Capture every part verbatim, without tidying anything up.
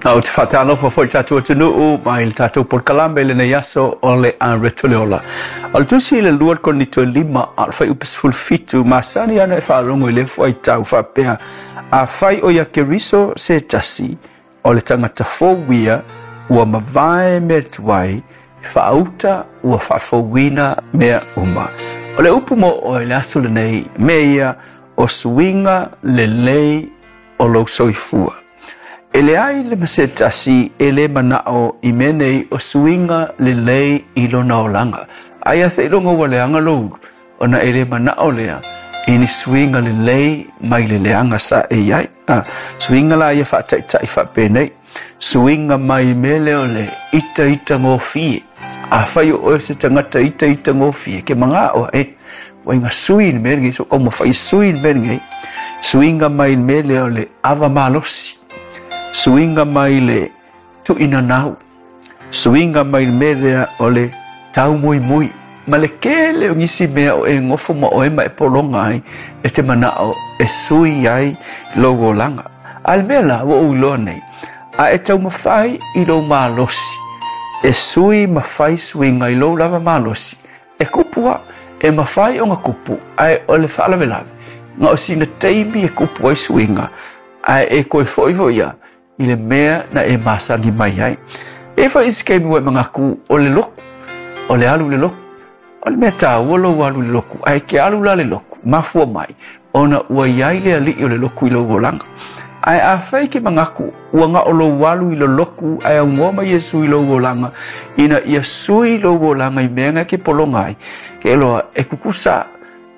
Ou te faatalofa foi i le tatou atunuu mai le tatou polokalame i lenei aso o le Areto le Ola. O le tusi i le lua Korinito e lima a o le fuaiupu sefulu fitu masani ana e faalogo i le fuaitau faapea, afai o ia Keriso se tasi, o le tagata fou ia ua mavae mea tuai, faauta ua faafouina mea uma. O le upu mo oe le aso lenei, mea ia o suiga lelei o lou soifua. E leai le ma se tasi e le manao i mea nei o suiga lelei i lona olaga. Aia seiloga ua leaga lou ulu, ona e le manao lea i ni suiga lelei mai le leaga sa e i ai. Ah, suiga la ia faataitai faapenei. Suiga mai mea lea o le itaita gofie. Afai o oe se tagata itaita gofie, ke magao e, ua iga sui le mea lenei, so taumafai sui le mea lenei. Suiga mai le mea lea o le ava malosi. Suiga mai le tuuinanau. Suiga mai le mea lea o le taumoimoi. Ma le tele o nisi mea o e gofo ma oe ma e pologa ai, e te manao e sui ai lou olaga. A le mea la ua ou iloa nei, a e taumafai i lou malosi, e sui ma fai suiga i lou lava malosi, e kupu a, e mafai ona kupu, ae o le faalavelave, na o sina taimi e kupu ai suiga, ae e koe foi foi ia, i le mea na e masani mai ai. E foi isi kaimi ua e manatu o le loku, o le alu i le loku. O le mea taua lou alu i le loku, ae ke alu la le loku, mafua mai, ona ua iai le alii o le loku i lou olaga. Ae afai ke manatu ua na o lou alu i le loku, ae aunoa ma Iesu i lou olaga, ina ia sui lou olaga i mea na ke pologa ai, ke iloa e kukusa,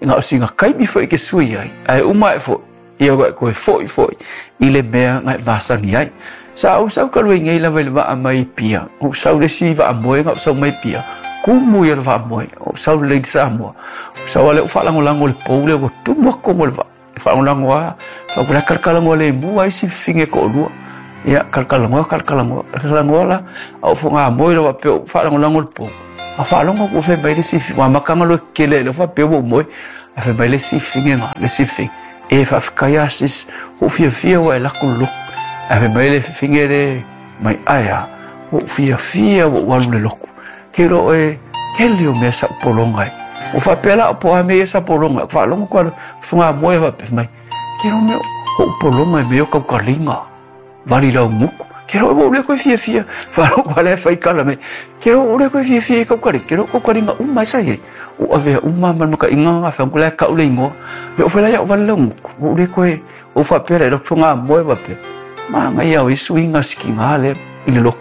na o sina kaimi foi ke sui ai, ae uma e foi, ia ua e koe foi foi i le mea na e masani ai. Sa ou sau talu ai nei lava i le vaa mai Apia, ou sau le isi vaa moe na ou sau mai Apia, kumu ia le vaa moe, ou sau le Lady Samoa, ou sau ale ou faalagolago le pou lea ua tumu atu tonu o le vaa. Faalagolago a, faapea kalakalagoa le mua ai si fifine e toalua. Ia, kalakalagoa, kalakalagoa, kalakalagoa la, a ou fogaa moe lava faapea ou faalagolago le pou. A faalogo ua fai mai le isi fifine, ua amataga loa kele le faapea ua ou moe. A fai mai le isi fifine na, le isi fifine, e faafetai a sis, ua ou fiafia ua e lako le loku. Ae fai mai le fifine le mai, ae a, ua ou fiafia ua ou alu i le loku. Ke iloa oe, tele o mea sa ou pologa ai. Ua faapea la o po a mea ia sa pologa ai. Faalogo atu a fogaa moe faapea mai, ke iloa mea o ou pologa i mea o kaukaliga, vali laugutu. Ke iloa ua ou le koe fiafia. Faalogo atu a lea fai tala mai, ke iloa ua ou le koe fiafia i kaukaliga. Ke iloa kaukaliga uma ai sa i ai. Ua avea uma ma le makaiga na fai atu la e kau le igoa. Le o fai la iau vali laugutu. Ua ou le koe, ua ou faapea la i lou fogaa moe faapea. Manaia o i suiga sikiga lea i le loku.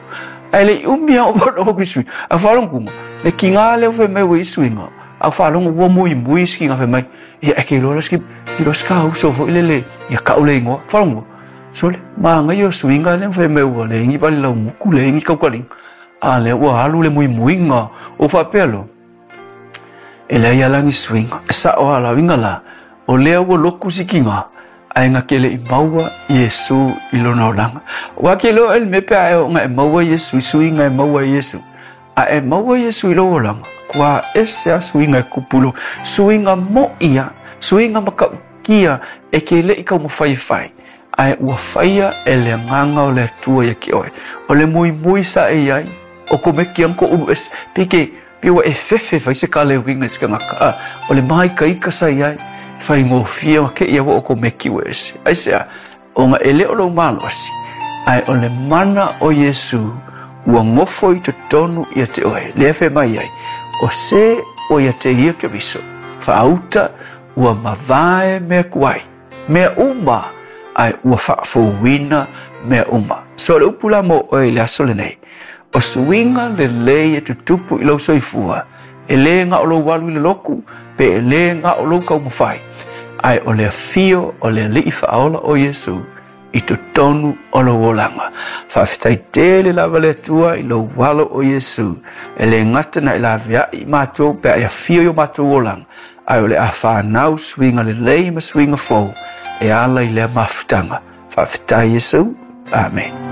Ae le i umi a o faalogo i suiga. A faalogo kuga, le kiga lea fai mai ua i suiga. A faalogo ua muimui sikiga fai mai, ia e ke iloa la siki, iloa sika uso foi lele, ia kau le igoa. Faalogo, sole, manaia o suiga lea fai mai ua leai ni vali laugutu, leai ni kaukaliga. A lea ua alu le muimuiga o faapea loa. E leai ala ni suiga. E sao a lauiga la, o lea ua loku sikiga, ae na ke le i maua Iesu i lona olaga. Ua ke iloa e le mea pe a e oo na e maua Iesu i suiga e maua e Iesu. A e maua Iesu i lou olaga, kua ese a suiga e kupu i lou. Suiga mo'i a, suiga matautia e ke le i taumafai e fai, ae ua faia e le agaga o le Atua ia te oe. O le muimui sa e i ai, o komeki ana ko ulu ese, pei ke, pei ua e fefe fai se kale uiga i se tagata. A, o le māikaika sa i ai, faigofie ma ke ia ua o komeki ua ese. Aisea, ona e le o lou malosi, ae o le mana o Iesu ua gofo i totonu ia te oe. Lea fai mai ai, o se o ia te ia Keriso, faauta ua mavae mea tuai, mea uma, ae ua faafouina mea uma. So le upu la mo oe i le aso lenei, o suiga lelei e tutupu i lou soifua, e le na o lou alu i le loku, pe e le na o lou taumafai, ae o le afio o le alii faaola o Iesu i totonu o lou olaga. Faafetai tele lava le Atua i lou alo o Iesu, e le gata na e laveai i matou pe a e afio i o matou olaga, ae o le a whanau suiga lelei ma suiga fou e ala i lea mafutaga. Faafetai Iesu. Amen.